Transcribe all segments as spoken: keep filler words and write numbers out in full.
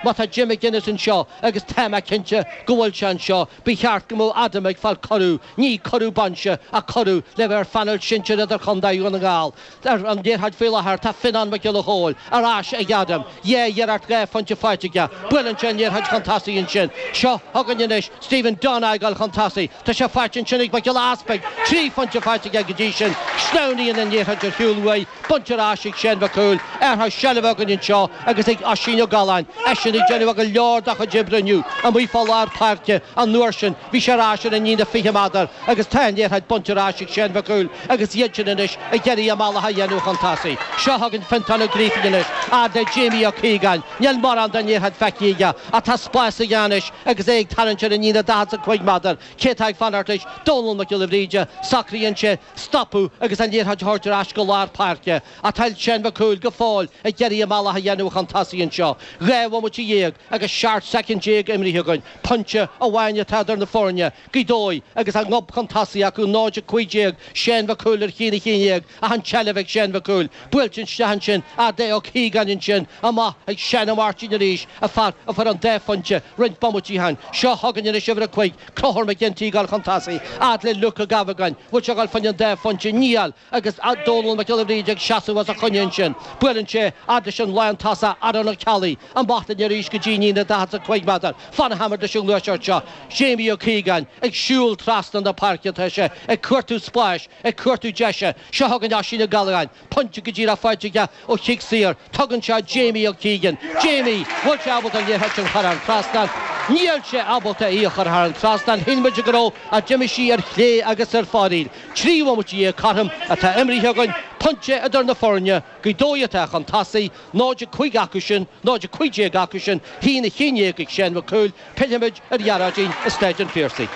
Má tá Jim McGuinness anseo agus tá mé cinnte go bhfuil sé anseo, ba cheart go mbeadh Adam ag fáil cuireadh, ní cuireadh bainse ach cuireadh le bheith ar phainéal sinsir idirchontae Dhún na nGall. Ar an liathróid faoi láthair tá Fionán Mac Giolla Chóill ar ais ag Adam. Dhá iarracht dhá phointe faighte aige. Buaileann sé an liathróid chun tosaigh ansin. Seo chugainn anois Stephen Dunne ag dul chun tosaigh. Tá sé faighte ansin ag Mac Giolla Easpaig. Trí phointe faighte aige go dtí sin. Sleamhnaíonn an liathróid ar shiúl uaidh. Bainte ar ais ag Shane Mac Cumhaill. Athrú seilbhe againn anseo agus ag Oisín Ó Galláin. Eisean ag déanamh go leor dá chuid oibre inniu amuigh fá lár páirce an uair sin. Bhí sé ar ais ar an líne fiche méadar agus tá an liathróid bainte ar ais ag Shane Mac Cumhaill agus iad sin anois ag iarraidh a mbealach a dhéanamh chun tosaigh. Seo chugainn Fintán Ó Grífín anois, fhad le Jamie Ó Cíogáin. Níl mórán den liathróid feicthe aige ach tá spás aige anois agus é ag tarraingt ar an líne daichead is a cúig méadar. Cé atá ag fanacht leis? Dónal Mac Giolla Bhríde. Socraíonn sé stopadh agus an liathróid a thabhairt ar ais go lár páirce. Ach tá Shane Mac Cumhaill go fóill ag iarraidh a mbealach a dhéanamh chun tosaigh anseo. Dhá bhomaite dhéag agus seacht soicind déag imrithe againn. Pointe amháin atá idir na foirne. Gaoth Dobhair agus an gob chun tosaigh acu náid a cúig déag Shane Mac Cumhaill ar haon a haon déag ach an tseilbh ag Shane Mac Cumhaill. Buailte isteach ansin fhad le Ó Cíogáin ansin amach ag Seán Ó Máirtín arís a fear a fuair an dá phointe roinnt bomaití ó shin. Seo chugainn anois uimhir a cúig Conchúr Mac Ginty ag dul chun tosaigh fhad le Luke Ó Gabhagáin. Bhfuil sé ag dul fá choinne an dá phointe níl agus Dónal Mac Giolla Bhríde ag seasamh os a choinne ansin. Buaileann sé fhad leis an lántosach Aaron Ó Ceallaigh amach linn arís go dtí an líne daichead is a cúig méadar. Fanfaimid leis an ngluaiseacht seo. Jamie Ó Cíogáin ag siúl trasna na páirce tá sé ag cuartú spáis ag cuartú deise seo chugainn Oisín Ó Galláin, pointe go díreach faighte aige ó chic saor, tugann sé Jamie Ó Cíogáin. Jamie, bhfuil sé ábalta an liathróid sin a chur thar an trasnán? Níl sé ábalta í a chur thar an trasnán, shíl muid go raibh ach d'imigh sí ar chlé agus ar fóraoil. Trí bhomaite dhéag cothrom atá imrithe againn, pointe idir na foirne, Gaoth Dobhair atá chun tosaigh, náid a cúig acu sin, náid a cúig déag acu sin, haon a haon déag ag Shane Mac Cumhaill, pillfimid ar Ghearóidín i Staid an Phiarsaigh.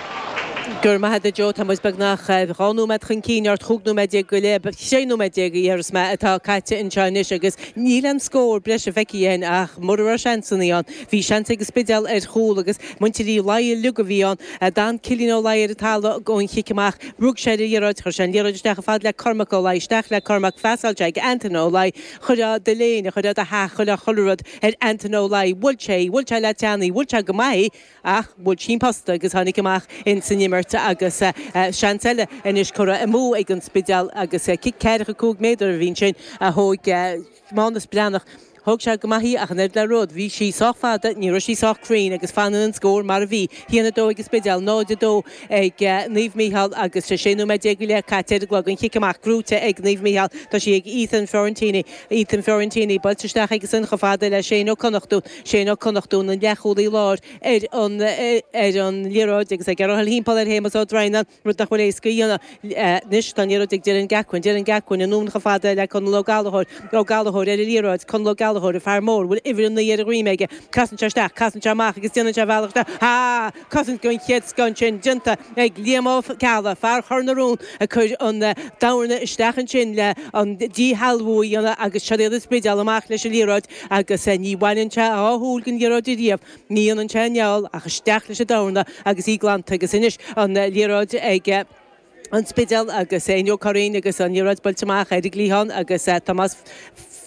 Go raibh maith agat a Joe, tá muid beagnach dhá nóiméad chun cinn ort, chúig nóiméad déag go leith, sé nóiméad déag a déarfas mé atá caite anseo anois agus níl aon scór breise feicthe againn ach mura raibh seansanna ann, bhí seans ag an Spidéal ar chúl agus muintir Uí Laoi uilig a bhí ann. D'fhan Cillian Ó Laoi ar an talamh ón chic amach, rug sé ar an liathróid, chuir sé an liathróid isteach chomh fada le Cormac Ó Laoi, isteach le Cormac, phasáil sé ag Antaine Ó Laoi, chuirfeá do léine, chuirfeá do theach, chuirfeá chuile rud ar Antaine Ó Laoi, bhuail sé í, bhuail sé le teann í, bhuail sé go maith í. Ach bhuail sí an posta agus tháinig amach ins an imirt agus seans eile anois curtha amú ag an Spidéal agus cic ceathracha cúig méadar a bhí ansin a thóg Mánus Breathnach. Thóg sé go maith í ach an oiread le rud, bhí sí sách fada, ní raibh sí sách cruinn agus fanann an scór mar a bhí, haon a dó ag an Spidéal, náid a dó ag Naomh Mícheál agus sé nóiméad déag go leith caite ar an gclog. An chic amach gnóite ag Naomh Mícheál, tá sí ag Ethan Fiorentini. Ethan Fiorentini buailte isteach aigesan chomh fada le Shane Ó Connachtún. Shane Ó Connachtún, an leathchúlaí láir, ar an ar an liathróid agus ag iarraidh a dhul thimpeall ar Shéamus Ó Droighneáin, rud nach bhfuil éasca a dhéanamh. Anois tá an liathróid ag Dylan Gacquin, Dylan Gacquin anonn chomh fada le Conall Ó Gallchóir, Ó Gallchóir ar an liathróid, Conall Ó Gallchóir, an fear mór, bhfuil uimhir a naoi ar a dhroim aige, casann sé isteach, casann sé amach agus déanann sé a bhealach isteach. Ha! Cosaint den chéad scoth ansin déanta ag Liam Ó Ceallaigh, fear Chor na Rón, ag cur an dorna isteach ansin le an díshealbhú a dhéanamh agus seo iad an Spidéal amach leis an liathróid agus ní bhaineann sé a dhá shúil den liathróid ariamh. Ní dhéanann sé an fheall ach isteach leis an dorna agus í glanta agus anois an liathróid ag an Spidéal agus Éinniú Ó Curraoin agus an liathróid buailte amach ar an gcliathán agus Tomás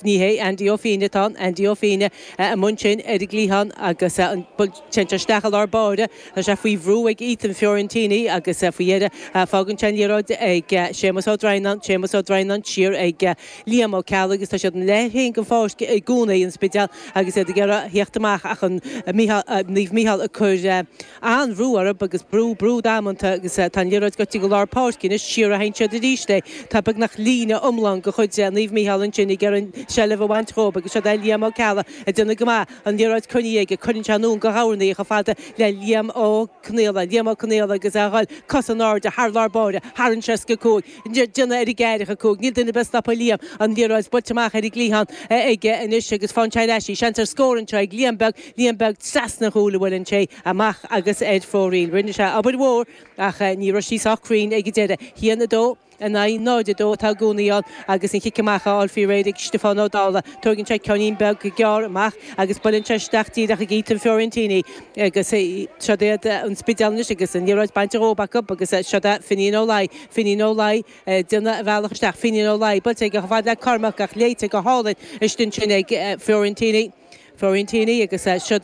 ní hé, Andy Ó Fínne atá ann, Andy Ó Fínne i mbun sin ar an gcliathán agus an téann sé isteach i lár báire. Tá sé faoi bhrú ag Ethan Fiorentini agus faoi dheireadh fágann sé an liathróid ag Séamus Ó Droighneáin, Séamus Ó Droighneáin siar ag Liam Ó Ceallaigh agus tá siad ina leath féin den pháirc i gcónaí, an Spidéal, agus iad ag iarraidh theacht amach ach an Naomh Mícheál ag cur an-bhrú orthu agus brú, brú damanta agus tá an liathróid gaibhte go lár páirce anois, siar a théann siad arís é. Tá beagnach líne iomlán de chuid Naomh Mícheál ansin ag iarraidh an tseilbh a bhaint dhóibh agus siod é Liam Ó Ceallaigh ag déanamh go maith, an liathróid coinnithe aige, cuireann sé anonn de dhorna í chomh fada le Liam Ó Conaola, Liam Ó Conaola agus é a dhul cos in airde thar lár báire, thar an seasca cúig. Déanamh ar an gceathracha cúig. Níl duine ar bith ag stopadh Liam. An liathróid buailte amach ar an gcliathán aige anois agus faigheann sé ar ais í. Seans ar scór anseo ag Liam Beag. Liam Beag trasna an chúil a bhuaileann sé amach agus ar fóraoil. Rinne sé obair mhór ach ní raibh sí sách cruinn ag an deireadh. Haon a dó in aghaidh náid a dó atá i gcónaí ann agus an chic amach á fháil faoi réir ag Stiofán Ó Dálaigh. Tóigeann sé ceainnín beag gearr amach agus buaileann sé isteach díreach ag Ethan Fiorentini agus siod iad an Spidéal anois agus an liathróid bainte dhóibh acu agus siod é Finian Ó Laoi. Finian Ó Laoi ag déanamh a bhealach isteach. Finian Ó Laoi buailte aige chomh fada le Cormac ach léite go hálainn istigh ansin ag Fiorentini. Fiorentini agus siod